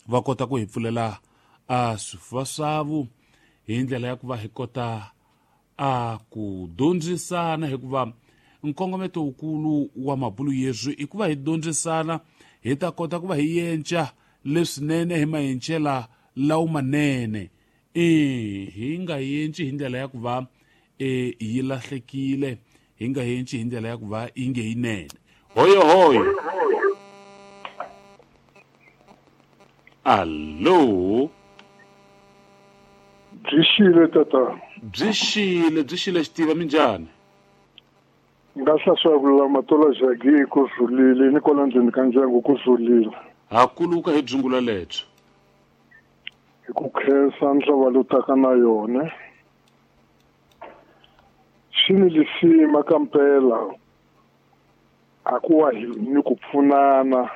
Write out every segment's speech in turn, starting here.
Va kota ku hi pfulela a swifuva swavu hi ndlela ya ku va hi kota a ku dyondzisana, hikuva nkongometo wukulu wa mabulu yeswi i ku va hi dyondzisana, hi ta kota ku va hi yenca leswinene hi mayencela lawo manene. E hi nga yenci hi ndlela ya ku va e yi lahlekile, hi nga yenci hi ndlela ya ku va yi nge yinene. Hoyo hoyo, allo. Byi xile tata. Byi xile, byi xile xitiva, minjhani? Nga hlaswa ku lulama tola jagi ku rhulile ni kwala ndzeni ka ndyangu ku rhulile. Ha kuluka hi dzungula lebyo. Hi ku khensa ndlava lowu taka na yona. Swi ni lisima ka mpela a ku wa hi ni ku pfunana.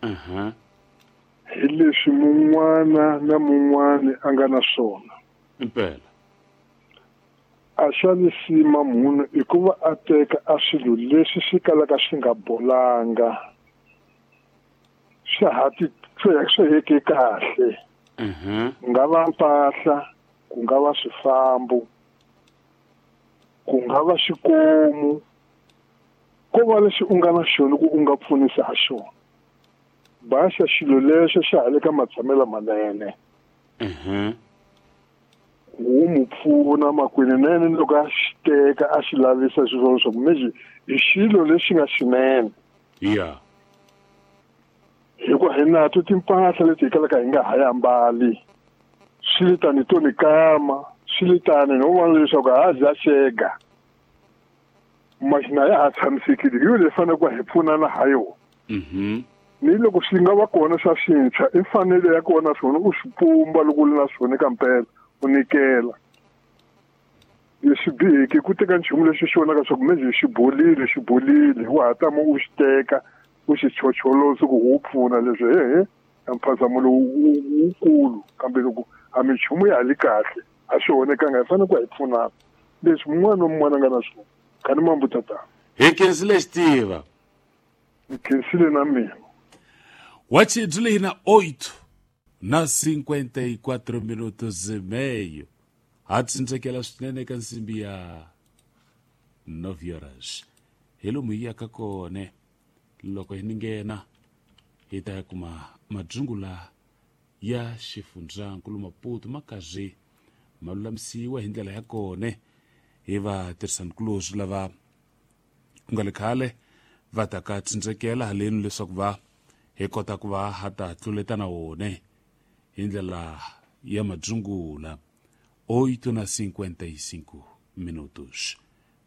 Hi leswi mun'wana na mun'wana a nga na swona. Impela. A xa lisima munhu i ku va a teka a swilo leswi swi kalaka swi nga bolanga. Swa ha ti swi heke kahle. Ku nga va mpahla, ku nga va swifambo, ku nga va xikomu, ko va lexi u nga na xona ku u nga pfunisa ha xona. Baxa xilo lexo xa ha le ka matshamelo manene. Wu mu pfuna makwini nene loko a xi teka a xi lavisa xilo swa ku mexi i xilo lexi nga xinene. Hikuva hi nato timpahla leti hi kalaka hi nga ha yi ambali. Swi le tani to ni kama, swi le tani no vona leswaku ha dya xega. Maxina ya ha tshamisekile, hi yo leyi faneleke ku hi pfunana ha yona. Ni loko swi nga va kona swa swintshwa, i mfanelo ya kona swona u swi pumba loko u ri na swona eka mpela, u nyikela. Leswi biheke ku teka nchumu lexi xi vonaka swa ku mejhe xi bolile, xi bolile, wa ha tama u xi teka, u xi chocholosa ku wu pfuna leswi hehe mphazamo lowu wukulu, kambe loko a minchumu ya ha li kahle a swi onhekanga, hi fanele ku hi pfunana leswi mun'wana na mun'wana a nga na swona. Khani mambu tata. Hi khensile xitiva. Hi khensile na mina. Wachi byi na 8 na 54 minutos e meio. Ha tsindzekela swinene eka nsimbi ya 9 horas. Hi lomu hi yaka kona loko hi ni nghena hi ta ya kuma madzungula ya xifundzankulu Maputo ma karhi ma lulamisiwa hi ndlela ya kona hi vatirhisanikulorhi lava ku nga le khale va ta ka tsindzekela haleni leswaku va hi kota ku va ha ta tluleta na wona hi ndlela ya madzungula. 8 na 55 minutos.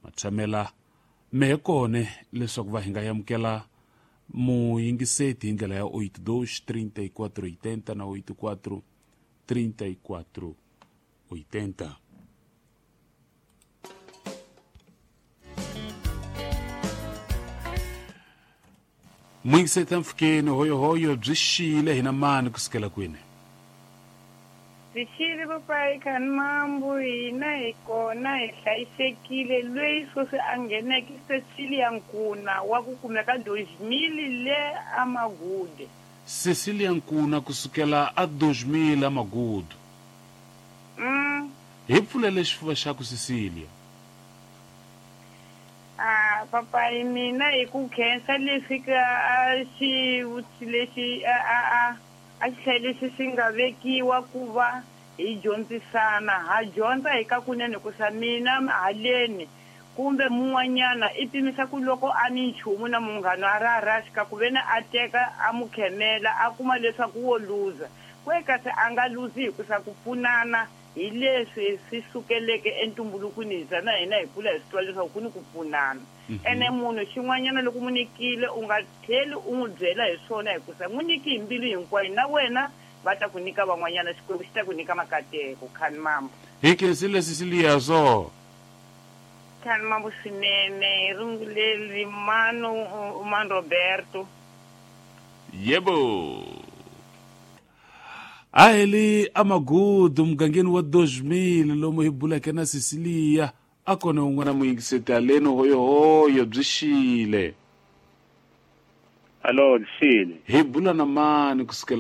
Matshamela mehe kone leswaku va hi nga amukela muyingiseti hi ndlela ya 82 34 80 na 84 34 80. Muyingiseti mpfhukeni hoyohoyo byi xile hina mani kusukela kwini? Byi xile papai khani mambu, hina hi kona hi hlayisekile. Loyi sweswi a ngheneke Cecilia Nkuna wa ku kumeka 2000 le Amagude. Cecilia Nkuna kusukela a 2000 Amagude. Hi pfulele xifuva xa ku Cecilia. Papai mina hi ku khensa leswi ka a xivutiso lexi a a xi hlayile lexi xi nga vekiwa ku va hi dyondzisana. Ha dyondza hi ka kunene ku sa mina haleni kumbe mun'wanyana i pimisa ku loko a ni nchumu na munghana a ra raxi ka ku ve ni a teka a mu khemela a kuma leswaku wo luza. Kwe kasi a nga luzi hi ku sa ku pfunana hi leswi swi sukeleke entumbulukweni hi za na hina hi kula hi swi twa leswaku ku ni ku pfunana. Ene munhu xin'wanyana loko mu nyikile u nga tlheli u n'wi byela hi swona hikusa n'wi nyiki hi mbilu hinkwayo na wena va ta ku nyika van'wanyana, Xikwembu xi ta ku nyika makateko. Khani mambo. Hi khensile Cecilia so. Khani mambo swinene hi runguleli mano man Roberto. Yebo. A hi le Amagudu mugangeni wa 2000 lomu hi buleke na Cecilia a kona un'wana muyingiseti haleni hoyohoyo byi xile. Alo, byi xile. Hi bula na mani kusukela